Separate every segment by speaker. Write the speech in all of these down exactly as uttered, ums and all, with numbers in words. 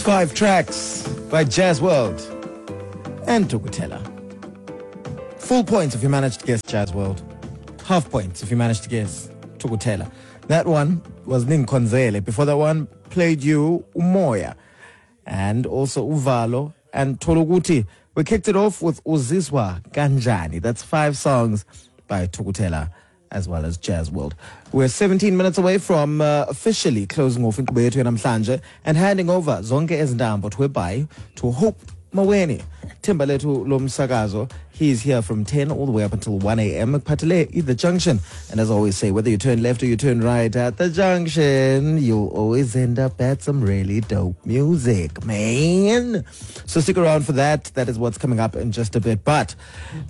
Speaker 1: Five tracks by Jazz World and Thukuthela. Full points if you managed to guess Jazz World. Half points if you managed to guess Thukuthela. That one was Ninkonzele. Before that one, played you Umoya and also Uvalo and Tologuti. We kicked it off with Uzizwa Kanjani. That's five songs by Thukuthela as well as Jazz World. We're seventeen minutes away from uh, officially closing off inkqubo yethu yanamhlanje and handing over zonke ezintambo to to Hope Maweni. Thembalethu lomsakazo. He's here from ten all the way up until one a m. Patile, the junction. And as I always say, whether you turn left or you turn right at the junction, you'll always end up at some really dope music, man. So stick around for that. That is what's coming up in just a bit. But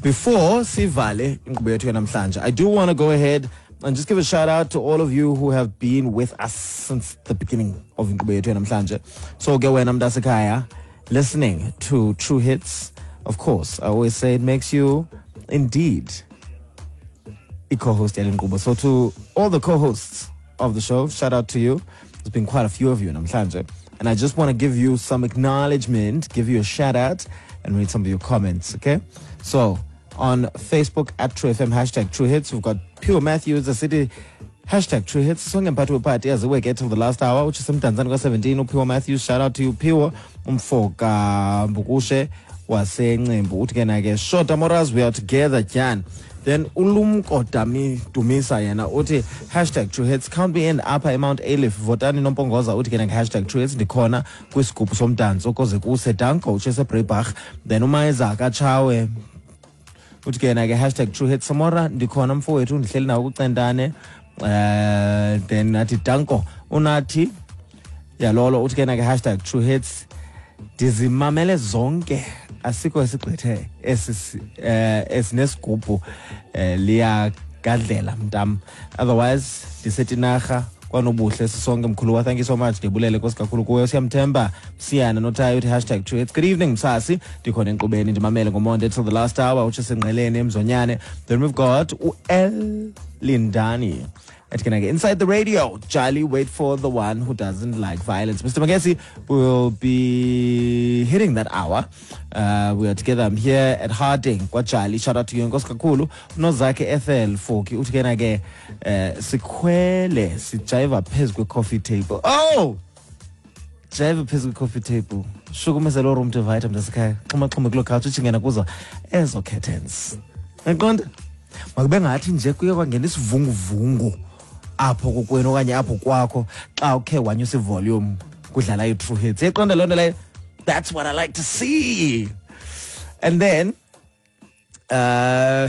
Speaker 1: before sivale inkqubo yethu yanamhlanje, I do want to go ahead and just give a shout out to all of you who have been with us since the beginning of inkqubo yethu yanamhlanje. So ke wena mntasekhaya listening to True Hits, of course, I always say it makes you indeed a co-host yale nkqubo. So to all the co-hosts of the show, shout out to you. There's been quite a few of you namhlanje. And I just want to give you some acknowledgement, give you a shout out, and read some of your comments, okay? So on Facebook at True F M, hashtag True Hits, we've got Pure Matthews, the city, hashtag True Hits. Sonke mphathi wepati aziwe ke till the last hour, which is Mdantsane kwa seventeen. uPure Matthews, shout out to you, Pure. Umfoka Mbukushe waseNcembu uthi ke na ke, "Shota Moraz, we are together, Jan." Then uLumko Dami Dumisa yena uthi hashtag True Hits, count me in apha eMount Ayliff, votani nompongoza. Uthi ke na hashtag True Hits, ndikhona kwisigubhu somdanso koze kuse, danko, utsho Breibach. Then uMayiza kaTshawe uthi ke yena ke hashtag True Hits, Samora, ndikhona mfowethu, ndihleli nawo kucentane. uh then nathi danko. Unathi yalolo uthi ke na ke hashtag True Hits, ndizimamele zonke, asikho esigqithe esi eh esinesigubhu, eh liyagadlela mntam, otherwise ndisetinarha kwanobuhle sisonke mkhuluwa. Thank you so much, ndibulele, nkosi kakhulu kuwe. Siyamthemba siyana notayo uthi hashtag True Hits, good evening msasi, ndikhona enkqubeni, ndimamele ngomonde till the last hour, utsho sengqeleni emzonyane. Then we've got u-L Lindani ethi ke inside the radio, Jolly, wait for the one who doesn't like violence. Mister Magesi will be hitting that hour. Uh, we are together. I'm here at Harding kwaJali. Shout out to you, nkosi kakhulu. Unozakhe Ethel Foki uthi ke na ke eh sikhwele sijayiva phezu kwe-coffee table. Oh! Jive phezu kwe-coffee table. Shukumisa lo room divider mntasekhaya. Xhuma xhuma kuloo couch utshingena kuzo ezo curtains. Yaqonda? Makube ngathi nje kuye kwangena isivunguvungu apho kokwenu okanye apho kwakho xa ukhe wanyusa ivolume kudlala i-True Hits. Iqonda loo nto leyo. That's what I like to see. And then uh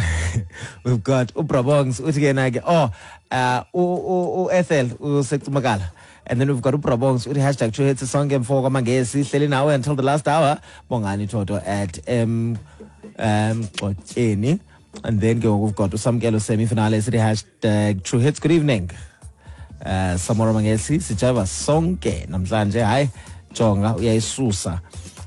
Speaker 1: we've got uBrabongs uthi ke na ke, oh, uh u-Ethel usecumakala. And then we've got uBrabongs uthi hashtag True Hits, sonke mfo kwamangesi, hleli nawe until the last hour, Bongani Toto at M um Xotyeni. And then ke we've got uSamkelo semi finale sithi hashtag True Hits, good evening uh Samora Mangesi, sijava sonke namhlanje. Hayi, jonga, uyayisusa,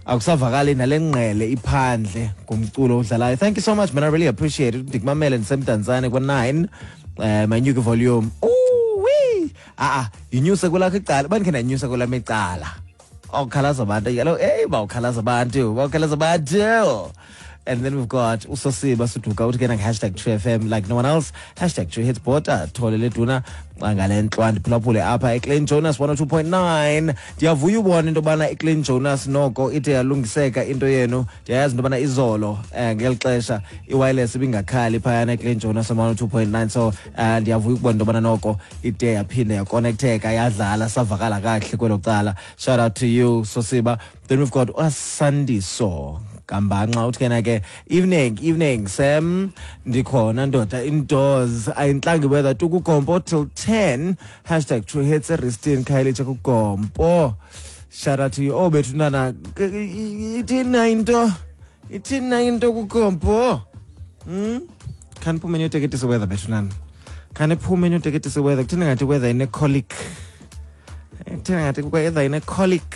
Speaker 1: akusavakali nale ngqele iphandle ngumculo odlalayo. Thank you so much, man, I really appreciate it. Ndikumamele ndisemdantsane kwa-nine. um manyuke volume. Ooh-wee. Ah ah, yinyuse kwelakho icala, bandikhe ndanyusa kwelam icala, awukhalaza abantu kaloku, eyi, bawukhalaza abantu, bawukhalaza abantu. And then we've got uSosiba Suduka uthi ke hashtag True F M like no one else, hashtag True Hits, bota thole leduna ngale ntlwa, ndiphulaphule apha eClean Jonas one oh two point nine. Ndiyavuya ubona into yobana iClean Jonas noko ide yalungiseka into yenu. Ndiyayazi into yobana izolo eh, ngeli xesha i-wireless ibingakhali phayana eClean Jonas one oh two point nine, so uh, ndiyavuya ukubona into yobana noko ide yaphinde yakonektheka, yadlala, savakala kakuhle kwelo cala. Shout out to you, Sosiba. Then we've got uSandiso Kambanxa uthi kena ke, "Evening, evening Sam, ndikhona ndoda, indoors ayintlangi weather tukugompo till ten, hashtag True Hits, eristin Khayelitsha kugompo." Shout out to you. Oh bethu nana, ithini into, ithini into kugompo? hmm khaniphume niyoteketisa weather bethu nana, khaniphume niyoteketisa weather. Kuthini ngathi weather ine-colic? Kuthini ngathi weather ine-colic?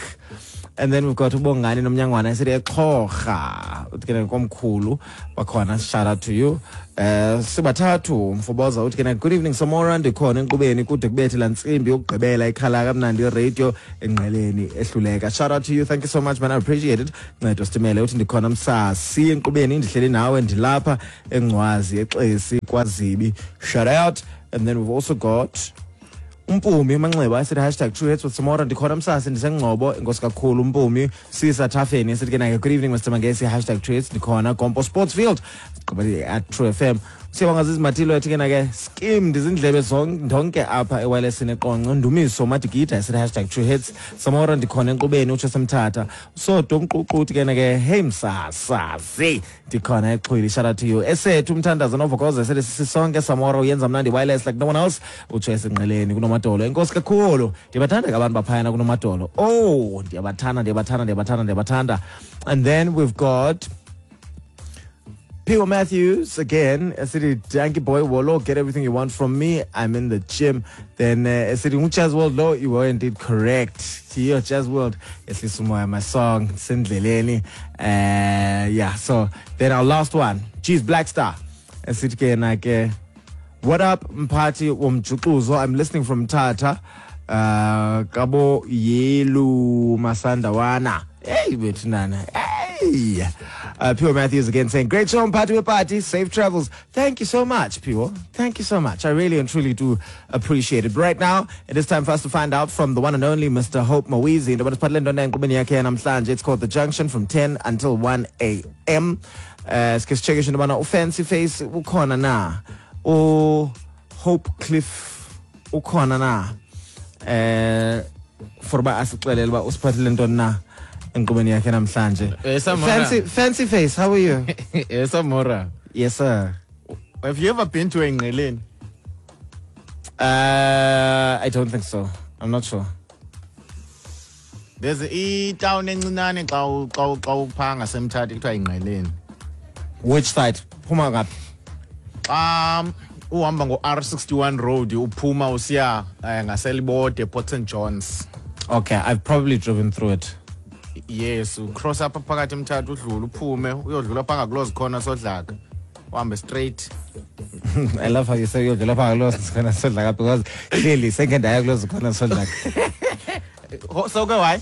Speaker 1: And then we've got uBongani Nomnyangwana esithi eXhorha. Uthi ke komkhulu bakhona, shout out to you. Eh sibathathu mfoboza uthi ke good evening Samora, ndikhona enkqubeni kude kubethe la ntsimbi yokugqibela ikhala kamnandi radio engqeleni ehluleka. Shout out to you, thank you so much man, I appreciate it. Ncedo Sitimele uthi ndikhona msasi enkqubeni, ndihleli nawe ndilapha eNgcwazi eXesi kwaZibi. Shout out. And then we've also got Umpumi Manxeba esithi hashtag true hits with Samora, ndikhona msasi ndisengcobo, enkosi kakhulu Umpumi. Sisa Thafeni esithi ke naye good evening Mister Mangesi, hashtag true hits, ndikhona Gompo Sportsfield at True F M. Siyabonga Zizimatilo ethi ke nake skim ndizindlebe zonke apha ewireless neqonco. Ndumiso Madigida esithi hashtag true hits, Samora ndikhona enkqubeni, utsho semthatha. Sodo Mququ uthi ke nake hey msasazi ndikhona eXhwili, shout out to you. Esethu umthandazo novokoza esithi sisonke Samora uyenza mnandi wireless like no one else, utsho esinqeleni kunomadolo. Enkosi kakhulu, ndiyabathanda ke abantu baphayana kunomadolo. Oh, ndiyabathanda ndiyabathanda ndiyabathanda ndiyabathanda. And then we've got P O Matthews again, City Danky Boy Wolo, get everything you want from me. I'm in the gym. Then uh, City Jazz World, lo, you were indeed correct. Here, Jazz World, it's my song, Sindleleni. Uh, yeah, so then our last one, G's Black Star. City Nike. What up, Mpati Womjukuzo? I'm listening from Tata. Uh, Kabo Yelu Masandawana. Hey, Nana. Hey. Uh, Pure Matthews again saying, great show, Party Party, safe travels. Thank you so much, Pure. Thank you so much. I really and truly do appreciate it. But right now, it is time for us to find out from the one and only Mister Hope Mawizi. It's called The Junction from ten until one a m. Uh, Fancy Face, ukhona na. O Hope Cliff, ukhona na. Eh, for ba asixelele uba usiphathele ntoni na enkqubeni yakhe namhlanje. Fancy Fancy Face, how are you?
Speaker 2: Yes, Samora.
Speaker 1: Yes, sir.
Speaker 2: Have you ever been to Engqeleni?
Speaker 1: Uh, I don't think so. I'm not sure.
Speaker 2: There's a town encinane xa xa xa upha ngasemthatha kuthiwa Ingqeleni.
Speaker 1: Which side? Phuma ngaphi?
Speaker 2: Um uhamba ngo R sixty-one road uphuma usiya ngaselibode Port Saint John's.
Speaker 1: Okay, I've probably driven through it.
Speaker 2: Yes, ucross apha phakathi emthatha udlula uphume uyodlula pha ngakulozi khona sodlaka. Uhambe straight.
Speaker 1: I love how you say uyodlula pha ngakulozi khona sodlaka because clearly second ndaya kulozi khona sodlaka.
Speaker 2: So ke why?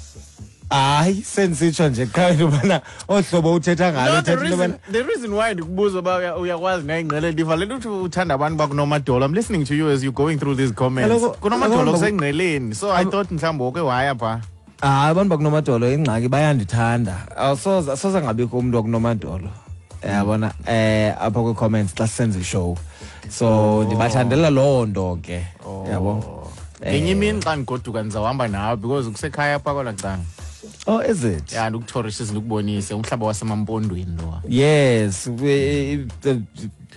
Speaker 1: Hayi sensitsho nje qha into bana ohlobo uthetha ngalo
Speaker 2: uthetha into bana the reason why ndikubuza uba uyakwazi nayingqele ndiva le nto uthi uthanda abantu bakunomadolo. I'm listening to you as you going through these comments. Kunomadolo kusengqeleni, so I thought mhlawumbi woke waya pha.
Speaker 1: Ah, abantu bakunomadolo ingxaki bayandithanda. Awusoze soze ngabikho umuntu wakunomadolo. Yabona eh apha kwi comments xa senze show. So ndibathandela loo nto ke. Yabo.
Speaker 2: Ngenye imini xa ndigoduka ndizawuhamba nawe because kusekhaya apha kwala canga.
Speaker 1: Oh, is it?
Speaker 2: Yeah, ndikutourist ndikubonise umhlaba wasemampondweni lo.
Speaker 1: Yes, we, the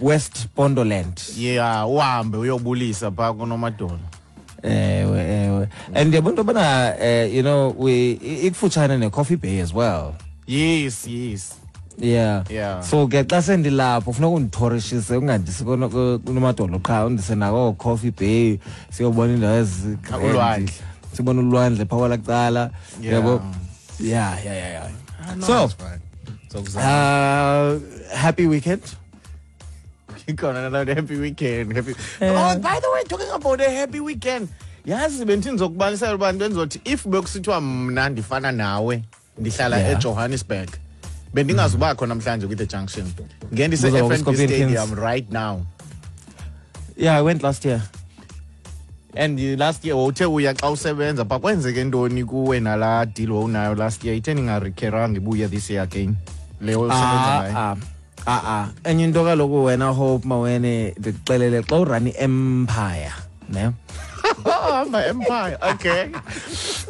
Speaker 1: West Pondoland.
Speaker 2: Yeah, uhambe uyobulisa pha kunomadolo.
Speaker 1: Ewe, ewe. And yabona bana you know, we ikufutshane ne Coffee Bay as well.
Speaker 2: Yes, yes.
Speaker 1: Yeah.
Speaker 2: Yeah.
Speaker 1: So ke xa sendilapho ufuna ukunditouristise ungandisi kunomadolo qha undise nako Coffee Bay siyobona indawo ezi
Speaker 2: ulwandle.
Speaker 1: Sibona ulwandle pha kwala kuqala. Yabo. Yeah, yeah, yeah, yeah.
Speaker 2: Ah, no,
Speaker 1: so,
Speaker 2: so
Speaker 1: uh, happy weekend.
Speaker 2: Another happy weekend. Happy.
Speaker 1: Yeah.
Speaker 2: Oh, by the way, talking about a happy weekend. Yazi bendizokubalisela abantu benzothi if bekusithiwa mna ndifana nawe ndihlala
Speaker 1: yeah.
Speaker 2: eJohannesburg. Bendingazubakho namhlanje with the junction. Ngendise F N B Stadium right now.
Speaker 1: Yeah, I went last year.
Speaker 2: And last year uthe uya xa usebenza pha kwenzeke ntoni kuwe nala deal wawunayo last year itheni ingarikheranga ibuye this year again leyo usebenza ngayo.
Speaker 1: Ah ah ah enye into kaloku wena Hope Mawene ndikuxelele xa urun empire ne
Speaker 2: my empire okay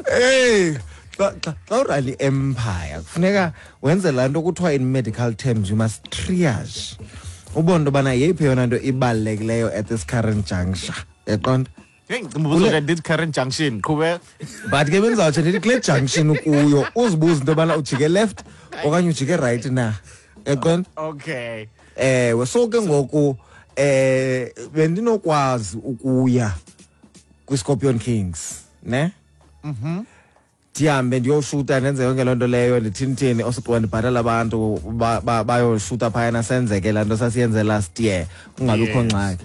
Speaker 1: hey xa xa urun empire kufuneka wenze laa nto kuthiwa in medical terms you must triage ubone into yobana yeyiphi yona nto ibalulekileyo at this current juncture yaqonda.
Speaker 2: Hey, this current junction qhubeka
Speaker 1: but ke benzawutsho ndithi kule junction ukuyo uzibuze into yobana ujike left okanye ujike right na yaqonda.
Speaker 2: Okay
Speaker 1: ewe so ke ngoku eh bendinokwazi ukuya kwi-Scorpion Kings ne mhm Ndihambe ndiyoshuta, ndenze yonke loo nto leyo, ndithini, osugqiba ndibhatala abantu bayoshuta phayana, senzeke laa nto sasiyenze last year, kungabikho
Speaker 2: Yes.
Speaker 1: ngxaki.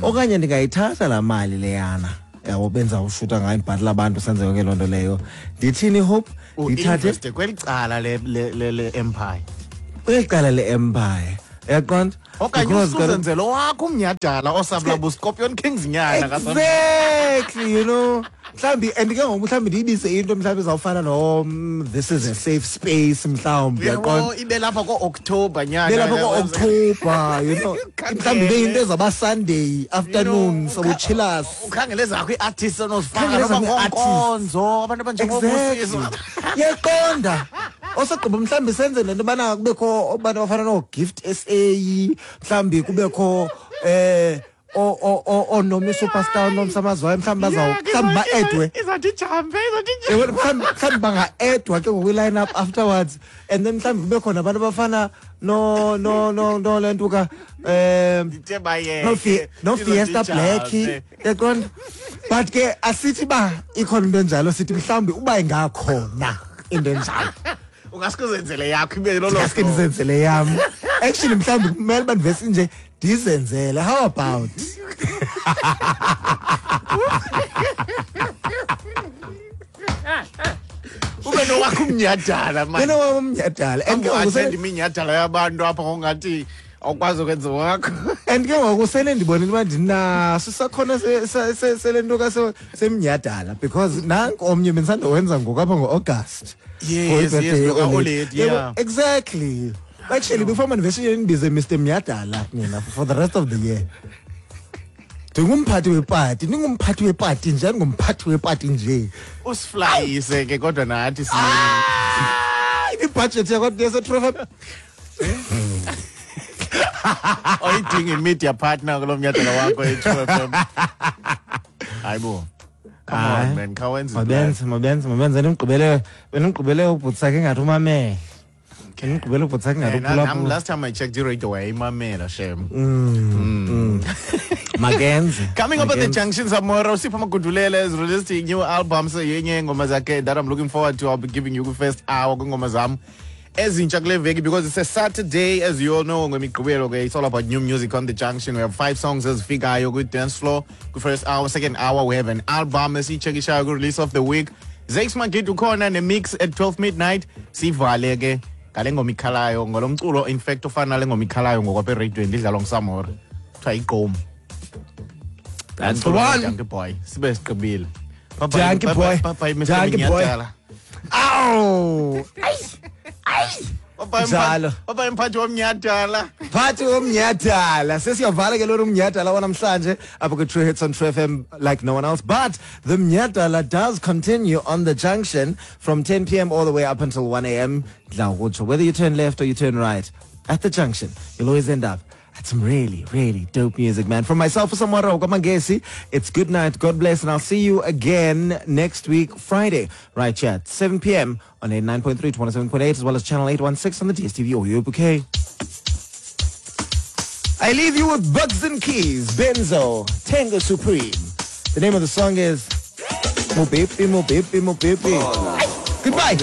Speaker 1: Okanye ndingayithatha laa mali leyana, yabo, benzawushuta ngayo, ndibhatala abantu, senze yonke loo nto leyo, ndithini, Hope, ndithathe
Speaker 2: U-investe kweli cala le le le le empire.
Speaker 1: Kweli cala le-empire, uyaqonda?
Speaker 2: Okanye
Speaker 1: Because kaloku-
Speaker 2: usuzenzele owakho umnyhadala osabula Scorpion Kings nyana.
Speaker 1: Exactly, you know, mhlawumbi, and ke ngoku mhlawumbi ndiyibise into mhlawumbi izawufana no mm, this is a safe space mhlawumbi, uyaqonda?
Speaker 2: Ibe lapha ko-October nyana.
Speaker 1: Belapha ko-October, you know, mhlawumbi ibe yinto ezawuba Sunday afternoon, sobuchilas.
Speaker 2: Ukhangele zakho ii-artists onozifaka
Speaker 1: Ukhangele
Speaker 2: noba
Speaker 1: ezam ii-artists.
Speaker 2: ngoonkonzo, abantu abanjengobusizo.
Speaker 1: Exactly, uyaqonda? Osogqiba mhlawumbi senze nento yobana kubekho abantu abafana noo-Gift S A, mhlawumbi kubekho eh o- o- o- ooNomi Superstar, oNomsamazwayo, mhlawumbi bazaw mhlawumbi ba-edwe.
Speaker 2: Izathi ijampe, izathi ijampe.
Speaker 1: Yabona, mhlawumbi mhlawumbi banga-edwa ke ngoku i-line up afterwards, and then mhlawumbi kube khona abantu abafana no no no no le nto ka um
Speaker 2: Ndithe bayeke.
Speaker 1: no Fi- no
Speaker 2: Izothi
Speaker 1: Fiesta Black,
Speaker 2: ijampe.
Speaker 1: yaqonda? But ke asithi ba ikhona into enjalo, sithi mhlawumbi uba ingakhona into enjalo.
Speaker 2: Ungaske uzenzele yakho ibe lolo
Speaker 1: Ngaske
Speaker 2: hlobo.
Speaker 1: ndizenzele yam. Actually, mhlawumbi kumele uba ndivesi nje ndizenzele. How about
Speaker 2: Ube nowakho umnyhadala, man.
Speaker 1: Yena wam umnyhadala, and ke ngoku
Speaker 2: Attend
Speaker 1: sele-
Speaker 2: iminyhadala yabantu apha ngokungathi awukwazi ukwenza wakho.
Speaker 1: And ke ngoku sele ndibonile uba ndinaso isakhono se- se- se- sele nto ka semnyhadala, because nanku omnye bendisandowenza ngoku apha ngo-August.
Speaker 2: Yes,
Speaker 1: For i-birthday
Speaker 2: yes,
Speaker 1: ye-Olady.
Speaker 2: lo-Olady, yeah.
Speaker 1: Yebo, exactly. Actually, before mandiveshe ndibize Mister Mnyhadala nina for the rest of the year. Ndingumphathi wepati, ndingumphathi wepati nje, ndingumphathi wepati nje.
Speaker 2: Usiflayise ke kodwa nathi si
Speaker 1: Hayi, ibudget yakho yase-True F M.
Speaker 2: Oyidinga i-media partner kulo mnyhadala wakho e-True F M. Hayibo. Come on, man, khawenze.
Speaker 1: Mabenze, mabenze, mabenze, ndimgqibele, bendimgqibele ubhuti sakhe ingathi umamele. Bendimgqibele ubhuti sakhe ingathi
Speaker 2: Eh, na- nam
Speaker 1: uphulaphula.
Speaker 2: last time I checked, iradio wayimamela, shem.
Speaker 1: Makenze.
Speaker 2: Coming up at the
Speaker 1: Makenze.
Speaker 2: junction, Samora, Usipho Magudulele has released a new album, so yenye ingoma zakhe that I'm looking forward to. I'll be giving you the first hour kwingoma zam ezintsha kule veki, because it's a Saturday, as you all know, ngomigqibelo ke it's all about new music on the junction. We have five songs ezifikayo kwi-dance floor kwi-first hour. Second hour, we have an album esiyitshekishayo kwi-release of the week. Zakes Magid ukhona ne-mix at twelve midnight. Sivale ke ngale ngoma ikhalayo, ngolo mculo, in fact, ofana nale ngoma ikhalayo ngokwapha ereyidweni, idlalwa nguSamora, kuthiwa igqom.
Speaker 1: That's the one.
Speaker 2: Junkie boy, sibe sigqibile. Bye bye.
Speaker 1: Junkie
Speaker 2: Bye
Speaker 1: boy.
Speaker 2: bye, bye, Mister
Speaker 1: Junkie boy.
Speaker 2: Minyadala.
Speaker 1: Awu!
Speaker 2: Bye bye.
Speaker 1: Njalo.
Speaker 2: Bye bye, mphathi womnyhadala.
Speaker 1: Phathi womnyhadala, sesiyavala ke lona umnyhadala wanamhlanje apha kwi-True Hits on True F M like no one else. But the mnyhadala does continue on the junction from ten p m all the way up until one a m. Dlawutsho, whether you turn left or you turn right at the junction, you'll always end up at some really, really dope music, man. From myself, Samora Kwamangesi, it's good night, God bless, and I'll see you again next week, Friday, right here at seven p m on eighty-nine point three, twenty-seven point eight, as well as channel eight one six on the D S T V audio bouquet. I leave you with Bugs and Keys, Benzo, Tango Supreme. The name of the song is Mobepi, Mobepi, Mobepi. Goodbye.